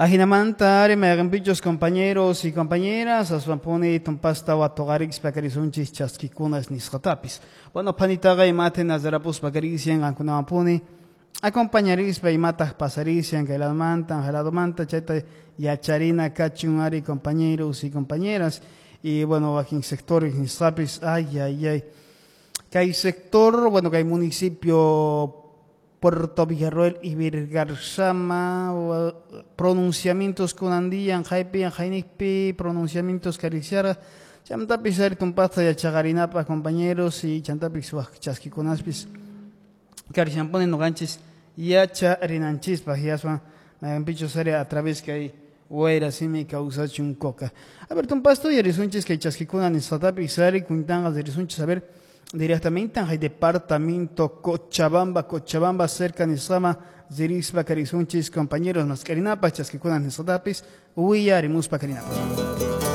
Ajinamanta ari mayqinpichus compañeros y compañeras aswanpuni tumpasta watuqarikispa karisunchis chaskikunas nisqatapis. Bueno, phanitaqa imate nazarapuspa karisian qankunawanpuni acompañarispa imataq pasarisian kay ladomanta ladomanta chayta yacharina kachun ari compañeros y compañeras. Y bueno, wakin sectores nisqapis, ay, ay, ay. Kay sector, bueno, kay municipio Puerto Villarroel y Virgarzama, pronunciamientos kunandiyan, haypi, haynikpi, pronunciamientos karisiara, chantapis ari tumpasta yachaqarinapaq compañeros y chantapis wak chaskikunaspis karisianpuni nuqanchis yacharinanchispaq yaswan mayqinpichus ari a través kay wayra simi kawsachun coca. A ver, tumpasto yarisunchis kay chaskikuna nisqatapis ari kuntanqa risunchis, a ver, directamente al departamento Cochabamba, Cochabamba cerca nisqama ririspa karisunchis compañeros mascarinapaq chaskikuna nisqatapis willarimuspa karinapaq.